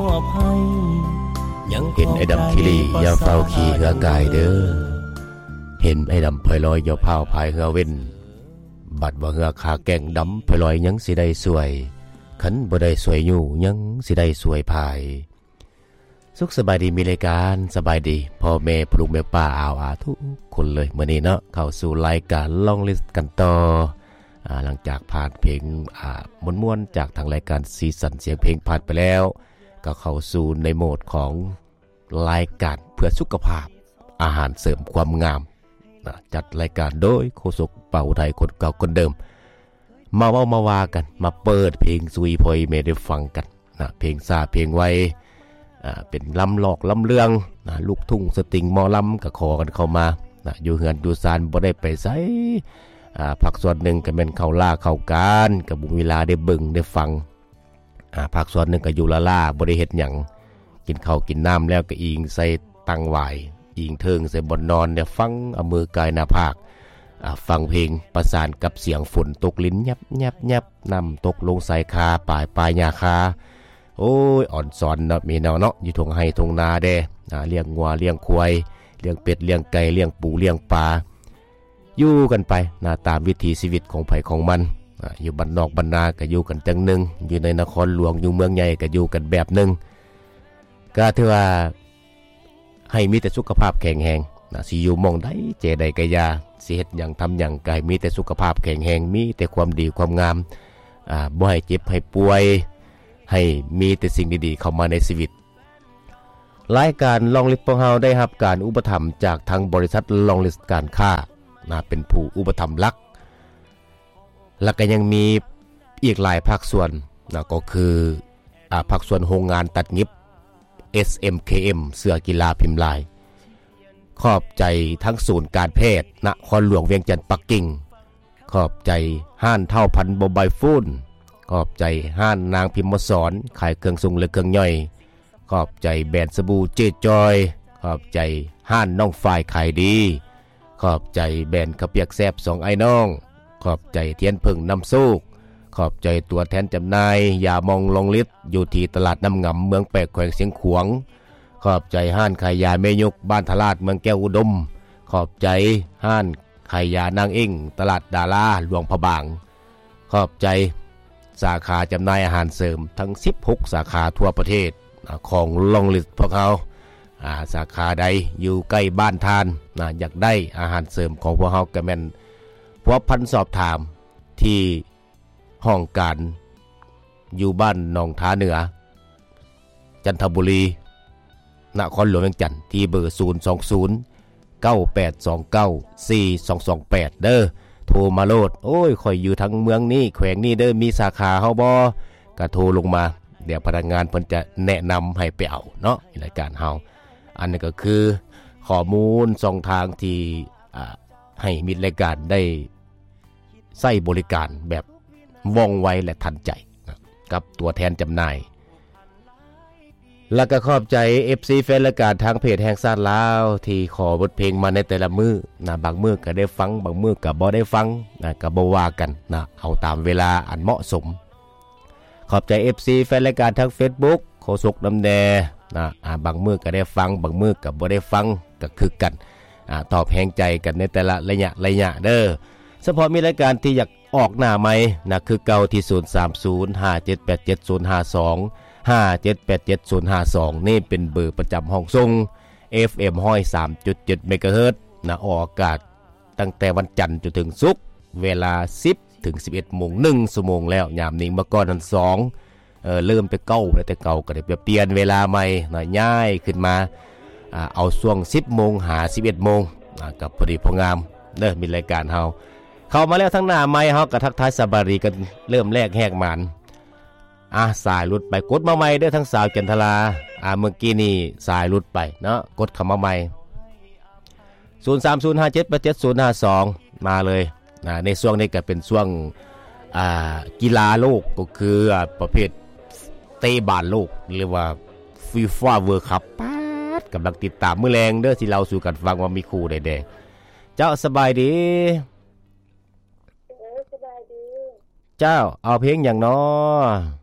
ເຫັນໄອ້ດຳຂີ້ຫຼີ່ຢ່າຟ້າວຂີ່ເຮືອກາຍເດີ ເຫັນໄອ້ດຳພາຍລອຍຢ່າຟ້າວພາຍເຮືອເວັນ ບັດວ່າເຮືອຂາແກ່ງດຳພາຍລອຍຍັງຊິໄດ້ຊ່ວຍ ຄັນບໍ່ໄດ້ຊ່ວຍຍູ້ຍັງຊິໄດ້ຊ່ວຍພາຍ. ສຸກສະບາຍດີມີລາຍການ ສະບາຍດີພໍ່ແມ່ພໍ່ລູກແມ່ປ້າອາວອາທຸກຄົນເລີຍ. ມື້ນີ້ເນາະ ເຂົ້າສູ່ລາຍການລອງລິດກັນຕໍ່ ອາ ຫຼັງຈາກຜ່ານເພງ ອາ ມ່ວນໆ ຈາກທາງລາຍການສີສັນສຽງເພງຜ່ານໄປແລ້ວ ກໍເຂົ້າສູ່ໃນໂໝດຂອງລາຍການເພື່ອສຸຂະພາບ ອາຫານເສີມຄວາມງາມນະ ຈັດລາຍການໂດຍໂຄສົກບ່າວໄທ ຄົນເກົ່າຄົນເດີມ. ມາເວົ້າມາວ່າກັນ ມາເປີດເພງສູ່ພໍ່ແມ່ໄດ້ຟັງກັນນະ ເພງຊ້າເພງໄວ ອາ ເປັນລຳລອກລຳເລື່ອງນະ ລູກທຸ່ງ ສະຕິງ ໝໍລຳ ກໍຂໍກັນເຂົ້າມານະ ຢູ່ເຮືອນຢູ່ຊານບໍ່ໄດ້ໄປໃສ ອາ ພາກສ່ວນໜຶ່ງກໍແມ່ນເຂົ້າລາເຂົ້າການ ກໍບໍ່ມີເວລາໄດ້ເບິ່ງໄດ້ຟັງ ອາ ພາກສ່ວນໜຶ່ງກໍຢູ່ລ້າໆ ບໍ່ໄດ້ເຮັດຫຍັງ ກິນເຂົ້າກິນນ້ຳແລ້ວກໍອີງໃສ່ຕັ່ງຫວາຍ ອີງເທິງໃສ່ບ່ອນນອນ ແລ້ວຟັງເອົາມືກາຍໜ້າຜາກ ອາ ຟັງເພງປະສານກັບສຽງຝົນຕົກລິນແຍບໆໆ ນ້ຳຕົກລົງຊາຍຄາ ປາຍປ່າຫຍ້າຄາ ໂອ້ຍ ອອນຊອນເນາະ ມີແນວເນາະ ຢູ່ທົ່ງໄຮ່ທົ່ງນາແດ່ ອາ ລ້ຽງງົວລ້ຽງຄວາຍ ລ້ຽງເປັດລ້ຽງໄກ່ ລ້ຽງປູລ້ຽງປາ ຢູ່ກັນໄປນະ ຕາມວິຖີຊີວິດຂອງໃຜຂອງມັນ ອາ ຢູ່ບ້ານນອກບ້ານນາກໍຢູ່ກັນຈັ່ງໜຶ່ງ ຢູ່ໃນນະຄອນຫຼວງ ຢູ່ເມືອງໃຫຍ່ກໍຢູ່ກັນແບບໜຶ່ງ ກໍຖືວ່າໃຫ້ມີແຕ່ສຸຂະພາບແຂງແຮງນະ ຊິຢູ່ໝ່ອງໃດແຈໃດກໍຢ່າ ຊິເຮັດຫຍັງທຳຫຍັງກໍໃຫ້ມີແຕ່ສຸຂະພາບແຂງແຮງ ມີແຕ່ຄວາມດີຄວາມງາມ ອາ ບໍ່ໃຫ້ເຈັບໃຫ້ປ່ວຍ ໃຫ້ມີແຕ່ສິ່ງດີໆເຂົ້າມາໃນຊີວິດ. ລາຍການລອງລິດພວກເຮົາໄດ້ຮັບການອຸປະຖຳຈາກທາງບໍລິສັດລອງລິດການຄ້ານະ ເປັນຜູ້ອຸປະຖຳຫຼັກ ແລ້ວກໍຍັງມີອີກຫຼາຍພາກສ່ວນນະ ກໍຄື ອາ ພາກສ່ວນໂຮງງານຕັດຫຍິບ ເອສເອັມເຄເອັມ ເສື້ອກິລາພິມລາຍ ຂອບໃຈທັງສູນການແພດນະຄອນຫຼວງວຽງຈັນປັກກິ່ງ ຂອບໃຈຮ້ານທ້າວພັນໂມບາຍໂຟນ ຂອບໃຈຮ້ານນາງພິມມະສອນ ຂາຍເຄື່ອງຊົງ ແລະ ເຄື່ອງຍ່ອຍ ຂອບໃຈແບຣນສະບູເຈຈອຍ ຂອບໃຈຮ້ານນ້ອງຝ້າຍຂາຍດີ ຂອບໃຈແບຣນເຂົ້າປຽກແຊບສອງອ້າຍນ້ອງ ຂອບໃຈທຽນເຜິ້ງນຳໂຊກ ຂອບໃຈຕົວແທນຈຳໜ່າຍຢາໝອງລອງລິດ ຢູ່ທີ່ຕະຫຼາດນ້ຳງຳ ເມືອງແປກ ແຂວງຊຽງຂວາງ ຂອບໃຈຮ້ານຂາຍຢາແມ່ຍົກ ບ້ານທະລາດ ເມືອງແກ້ວອຸດົມ ຂອບໃຈຮ້ານຂາຍຢານາງເອັ້ງ ຕະຫຼາດດາລາ ຫຼວງພະບາງ ຂອບໃຈສາຂາຈຳໜ່າຍອາຫານເສີມທັງສິບຫົກສາຂາທົ່ວປະເທດ ອາ ຂອງລອງລິດພວກເຮົາ ອາ ສາຂາໃດຢູ່ໃກ້ບ້ານທ່ານນະ ຢາກໄດ້ອາຫານເສີມຂອງພວກເຮົາ ກໍແມ່ນພົວພັນສອບຖາມທີ່ຫ້ອງການຢູ່ບ້ານໜອງທາເໜືອ ຈັນທະບູລີ ນະຄອນຫຼວງວຽງຈັນ ທີ່ເບີ ສູນສອງສູນ ເກົ້າແປດສອງເກົ້າ ສີ່ສອງສອງແປດ ເດີ ໂທມາໂລດ. ໂອ້ຍ ຂ້ອຍຢູ່ທາງເມືອງນີ້ ແຂວງນີ້ເດີ ມີສາຂາເຮົາບໍ່? ກະໂທລົງມາ ດຽວພະນັກງານເພິ່ນຈະແນະນຳໃຫ້ໄປເອົາເນາະ ລາຍການເຮົາ. ອັນນີ້ກໍຄືຂໍ້ມູນຊ່ອງທາງທີ່ ອາ ໃຫ້ມິດລາຍການໄດ້ໃຊ້ບໍລິການແບບວ່ອງໄວ ແລະ ທັນໃຈນະ ກັບຕົວແທນຈຳໜ່າຍ. ແລ້ວກໍຂອບໃຈເອັຟຊີແຟນລາຍການທາງເພຈແຫ່ງຊາດລາວ ທີ່ຂໍບົດເພງມາໃນແຕ່ລະມື້ນະ ບາງມື້ກໍໄດ້ຟັງ ບາງມື້ກໍບໍ່ໄດ້ຟັງນະ ກໍບໍ່ວ່າກັນນະ ເອົາຕາມເວລາອັນເໝາະສົມ. ຂອບໃຈເອັຟຊີແຟນລາຍການທາງເຟສບຸກ ໂຄສົກນຳແດ່ນະ ອາ ບາງມື້ກໍໄດ້ຟັງ ບາງມື້ກໍບໍ່ໄດ້ຟັງ ກໍຄືກັນ ອາ ຕອບແຮງໃຈກັນໃນແຕ່ລະໄລຍະໄລຍະເດີ. ສະເພາະມີລາຍການທີ່ຢາກ ອອກໜ້າໃໝ່ນະ ຄືເກົ່າທີ່ ສູນສາມສູນ ຫ້າເຈັດແປດເຈັດ ສູນຫ້າສອງ ຫ້າເຈັດແປດເຈັດ ສູນຫ້າສອງ ນີ້ເປັນເບີປະຈຳຫ້ອງສົ່ງ ເອັຟເອັມ ຮ້ອຍສາມຈຸດເຈັດ ເມກາເຮີດນະ ອອກອາກາດຕັ້ງແຕ່ວັນຈັນຈົນເຖິງສຸກ ເວລາ ສິບ ເຖິງ ສິບເອັດໂມງ ໜຶ່ງຊົ່ວໂມງແລ້ວ. ຍາມນີ້ເມື່ອກ່ອນຫັ້ນ ສອງ ເອີ ເລີ່ມແຕ່ເກົ່າ ແຕ່ເກົ່າກໍໄດ້ໄປປ່ຽນເວລາໃໝ່ນະ ຍ້າຍຂຶ້ນມາ ອາ ເອົາຊ່ວງ ສິບໂມງ ຫາ ສິບເອັດໂມງ ອາ ກໍພໍດີພໍງາມເດີ ມີລາຍການເຮົາ ເຂົ້າມາແລ້ວທາງໜ້າໄມ ເຮົາກໍທັກທາຍສະບາຍດີກັນ ເລີ່ມແລກແຮກໝານ. ອາ ສາຍຫຼຸດໄປ ກົດມາໃໝ່ເດີ ທາງສາວຈັນທະລາ ອາ ເມື່ອກີ້ນີ້ສາຍຫຼຸດໄປເນາະ ກົດເຂົ້າມາໃໝ່ ສູນສາມສູນ ຫ້າເຈັດແປດເຈັດ ສູນຫ້າສອງ ມາເລີຍນະ. ໃນຊ່ວງນີ້ກໍເປັນຊ່ວງ ອາ ກິລາໂລກ ກໍຄື ອາ ປະເພດເຕະບານໂລກ ຫຼືວ່າຟີຟາເວີລຄັບ ປາດ ກຳລັງຕິດຕາມ ມື້ແລງເດີ ຊິເລົ່າສູ່ກັນຟັງວ່າມີຄູ່ໃດແດ່. ເຈົ້າ ສະບາຍດີ. ເອີ ສະບາຍດີ. ເຈົ້າ ເອົາເພງຫຍັງນໍ?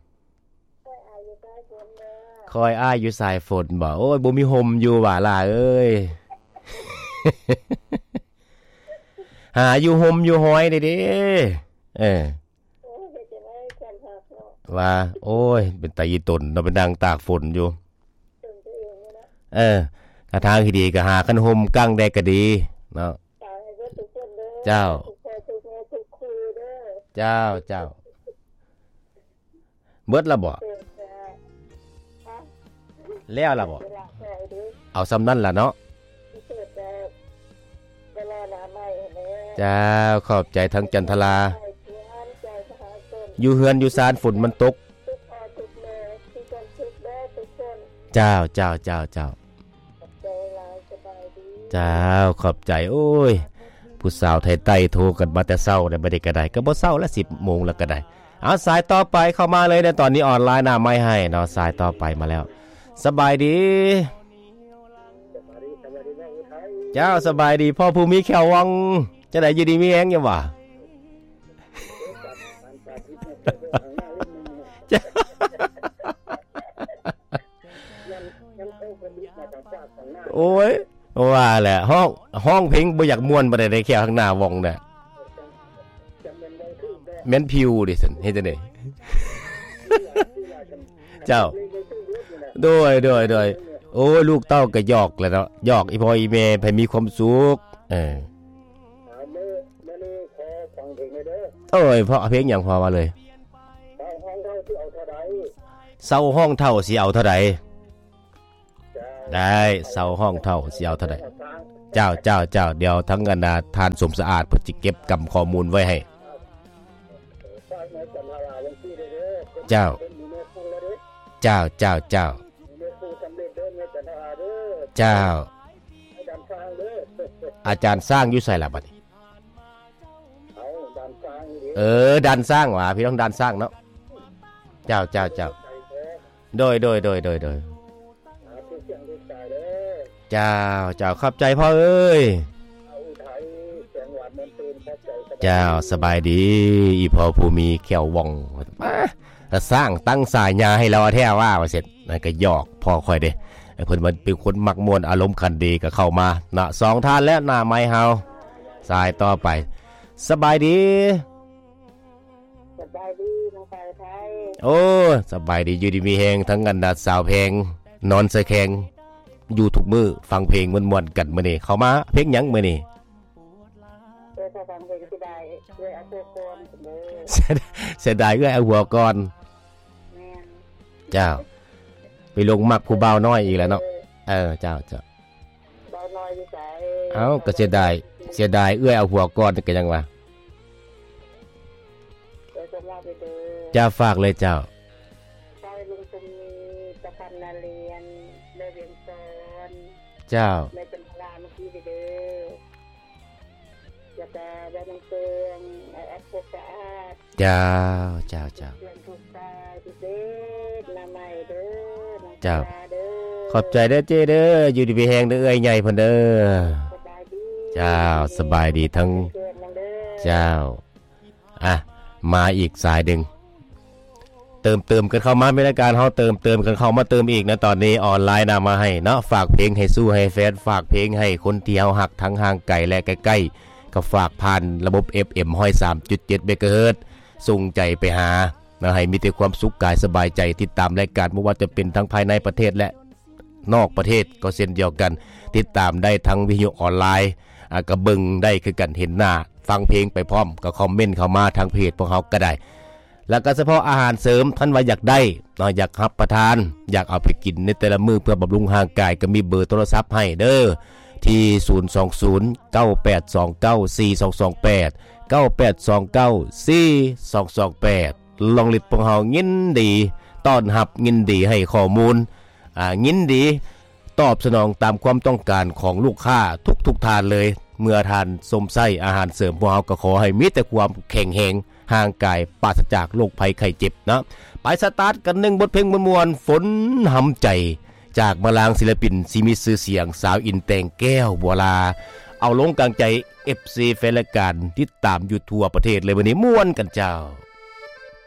ຂ້ອຍອາຢູ່ໃຕ້ບົນເດີ. ຄອຍອ້າຍຢູ່ສາຍຝົນບໍ? ໂອ້ຍ ບໍ່ມີຮົ່ມຢູ່ຫວາຫຼ້າເອີຍ. ຫາຢູ່ຮົ່ມຢູ່ຮອຍແດ່ເດ້. ເອີ ໂອ້ຍ ເຮັດຈັ່ງໃດຄວາມຮັກເນາະ ວ່າ ໂອ້ຍ ເປັນຕາອີຕົນເນາະ ໄປນັ່ງຕາກຝົນຢູ່. ຕົນຕົວເອງນີ້ແຫຼະ. ເອີ ກະທາງທີ່ດີກະຫາຄັນຮົ່ມກາງແດດກະດີເນາະ. ເຈົ້າ ໃຫ້ເບິດທຸກຄົນເດີ. ເຈົ້າ ທຸກພໍ່ທຸກແມ່ທຸກຄູ່ເດີ. ເຈົ້າ ເຈົ້າ. ເບິດລະບໍ? ເອີ ແລ້ວລະບໍ? ເວລາແລ້ວເດີ. ເອົາສ່ຳນັ້ນລະເນາະ. ເຈົ້າ ຂອບໃຈທາງຈັນທະລາ. ຢູ່ເຮືອນຢູ່ຊານຝົນມັນຕົກ. ເຈົ້າ ເຈົ້າ ເຈົ້າ ເຈົ້າ. ເຈົ້າ ຂອບໃຈ. ໂອ້ຍ ຜູ້ສາວໄທໃຕ້ໂທກັນມາແຕ່ເຊົ້າແລ້ວ ບັດນີ້ກະໄດ້ ກະບໍ່ເຊົ້າລະ ສິບໂມງແລ້ວກະໄດ້. ເອົາ ສາຍຕໍ່ໄປເຂົ້າມາເລີຍໃນຕອນນີ້ ອອນລາຍໜ້າໄມໃຫ້ເນາະ. ສາຍຕໍ່ໄປມາແລ້ວ. ສະບາຍດີ. ເຈົ້າ ສະບາຍດີ ພໍ່ຜູ້ມີແຂ້ວວ່ອງ. ຈັ່ງໃດ ຢູ່ດີມີແຮງຢູ່ບໍ່? ໂອ້ຍ ວ່າແຫຼະ ຮ້ອງ ຮ້ອງເພງບໍ່ຢາກມ່ວນປານໃດເດ້ ແຂ້ວທາງໜ້າວ່ອງນະ. ແມ່ນຜິວເດ້ຊັ້ນ ເຮັດຈັ່ງໃດ? ເຈົ້າ ໂດຍ ໂດຍ ໂດຍ. ໂອ້ຍ ລູກເຕົ້າກະຫຍອກແຫຼະເນາະ ຫຍອກອີ່ພໍ່ອີ່ແມ່ໃຫ້ມີຄວາມສຸກ. ເອີ ເອົາ ມື້ ມື້ນີ້ຂໍຟັງເພງແດ່ເດີ. ໂອ້ຍ ເພາະເພງຫຍັງ ພໍ່ວ່າເລີຍ. ເຊົາຮ້ອງເຖົ້າຊິເອົາເທົ່າໃດ? ເຊົາຮ້ອງເຖົ້າຊິເອົາເທົ່າໃດ? ໄດ້ ເຊົາຮ້ອງເຖົ້າຊິເອົາເທົ່າໃດ? ເຈົ້າ ເຈົ້າ ເຈົ້າ. ດຽວທາງອັນນາ ທ່ານສົມສະອາດເພິ່ນຊິເກັບກຳຂໍ້ມູນໄວ້ໃຫ້. ເຈົ້າ ເຈົ້າ ເຈົ້າ ເຈົ້າ. ເຈົ້າ ອາຈານຊ້າງຢູ່ໃສລະບັດນີ້? ເອີ ດ່ານຊ້າງຫວາ ພີ່ນ້ອງດ່ານຊ້າງເນາະ. ເຈົ້າ ເຈົ້າ ເຈົ້າ. ໂດຍ ໂດຍ ໂດຍ ໂດຍ ໂດຍ. ເຈົ້າ ເຈົ້າ ຂອບໃຈພໍ່ເອີຍ. ເຈົ້າ ສະບາຍດີ ອີ່ພໍ່ຜູ້ມີແຂ້ວວ່ອງ. ມາ ຕາຊ້າງຕັ້ງສາຍາໃຫ້ລາວແທ້ວ່າ ວ່າຊັ້ນ. ນັ້ນກະຫຍອກພໍ່ຂ້ອຍເດ້ ເພິ່ນວ່າເປັນຄົນມັກມ່ວນ ອາລົມຂັນດີ ກະເຂົ້າມາເນາະ. ສອງທ່ານແລ້ວ ໜ້າໄມເຮົາ. ສາຍຕໍ່ໄປ. ສະບາຍດີ. ສະບາຍດີນ້ອງສາວໄທ. ໂອ້ ສະບາຍດີ ຢູ່ດີມີແຮງ ທັງອັນນາ ສາວແພງ ນອນສະແຄງ ຢູ່ທຸກມື້ ຟັງເພງມ່ວນໆກັນມື້ນີ້. ເຂົ້າມາ ເພງຫຍັງມື້ນີ້? ເອີ ເຂົ້າຟັງເພງ ເສຍດາຍເອື້ອຍເອົາຜົວກ່ອນເດີ. ເສຍດາຍເອື້ອຍເອົາຜົວກ່ອນ. ແມ່ນ. ເຈົ້າ ໄປຫຼົງມັກຜູ້ບ່າວນ້ອຍອີກແລ້ວເນາະ. ເອີ ເຈົ້າ ເຈົ້າ. ບ່າວນ້ອຍຢູ່ໃສ? ເອົ້າ ກະເສຍດາຍ ເສຍດາຍເອື້ອຍເອົາຜົວກ່ອນ ກະຍັງວ່າ ເອີ ຈະຝາກເລີຍເຈົ້າ. ຝາກລຸງສົມມີ ຕາຄຳນາລຽນ ແມ່ວຽງສອນ. ເຈົ້າ. ແມ່ຈັນທະລາ ເມື່ອກີ້ເດີ. ແລ້ວກະແມ່ນາງເຕີງ ອ້າຍແອັດ ພົກສະອາດ. ເຈົ້າ ເຈົ້າ ເຈົ້າ. ເພື່ອນທຸກຕາພິເສດ ໜ້າໃໝ່ເດີ ນ້ອງ ເຈົ້າ ສາເດີ. ຂອບໃຈເດີເຈ້ເດີ ຢູ່ດີມີແຮງເດີ ເອື້ອຍໃຫຍ່ເພິ່ນເດີ. ສະບາຍດີ. ເຈົ້າ ສະບາຍດີທັງ ເຈົ້າ. ອ່ະ ມາອີກສາຍໜຶ່ງ ເຕີມເຕີມກັນເຂົ້າມາ ມີລາຍການເຮົາເຕີມເຕີມກັນເຂົ້າມາເຕີມອີກນະ. ຕອນນີ້ອອນລາຍນະ ມາໃຫ້ເນາະ ຝາກເພງໃຫ້ຊູ່ໃຫ້ແຟນ ຝາກເພງໃຫ້ຄົນທີ່ເຮົາຮັກ ທັງຫ່າງໄກ ແລະ ໃກ້ໆ ກະຝາກຜ່ານລະບົບ ເອັຟເອັມ ຮ້ອຍສາມຈຸດເຈັດ ເມກາເຮີດ ສົ່ງໃຈໄປຫາເນາະ ໃຫ້ມີແຕ່ຄວາມສຸກກາຍສະບາຍໃຈ. ຕິດຕາມລາຍການ ບໍ່ວ່າຈະເປັນທັງພາຍໃນປະເທດ ແລະ ນອກປະເທດກໍເຊັ່ນດຽວກັນ ຕິດຕາມໄດ້ທາງວິທະຍຸອອນລາຍ ອາ ກໍເບິ່ງໄດ້ຄືກັນ ເຫັນໜ້າ ຟັງເພງໄປພ້ອມ ກໍຄອມເມັນເຂົ້າມາທາງເພຈພວກເຮົາກໍໄດ້. ແລ້ວກໍສະເພາະອາຫານເສີມ ທ່ານວ່າຢາກໄດ້ເນາະ ຢາກຮັບປະທານ ຢາກເອົາໄປກິນໃນແຕ່ລະມື້ເພື່ອບຳລຸງຮ່າງກາຍ ກໍມີເບີໂທລະສັບໃຫ້ເດີ ທີ່ ສູນສອງສູນ ເກົ້າແປດສອງເກົ້າ ສີ່ສອງສອງແປດ ເກົ້າແປດສອງເກົ້າ ສີ່ສອງສອງແປດ. ລອງລິດພວກເຮົາຍິນດີຕ້ອນຮັບ ຍິນດີໃຫ້ຂໍ້ມູນ ອາ ຍິນດີຕອບສະໜອງຕາມຄວາມຕ້ອງການຂອງລູກຄ້າທຸກໆທ່ານເລີຍ. ເມື່ອທ່ານຊົມໃຊ້ອາຫານເສີມ ພວກເຮົາກໍຂໍໃຫ້ມີແຕ່ຄວາມແຂງແຮງ ຮ່າງກາຍປາສະຈາກໂລກໄພໄຂ້ເຈັບເນາະ. ໄປສະຕາດກັນໜຶ່ງບົດເພງມ່ວນໆ ຝົນຫຳໃຈ ຈາກມາລາງ ສິລະປິນທີ່ມີຊື່ສຽງ ສາວອິນແຕ່ງແກ້ວ ບົວລາ. ເອົາລົງກາງໃຈ ເອັຟຊີ ແຟນລາຍການ ຕິດຕາມຢູ່ທົ່ວປະເທດເລີຍ ມື້ນີ້ມ່ວນກັນເຈົ້າ.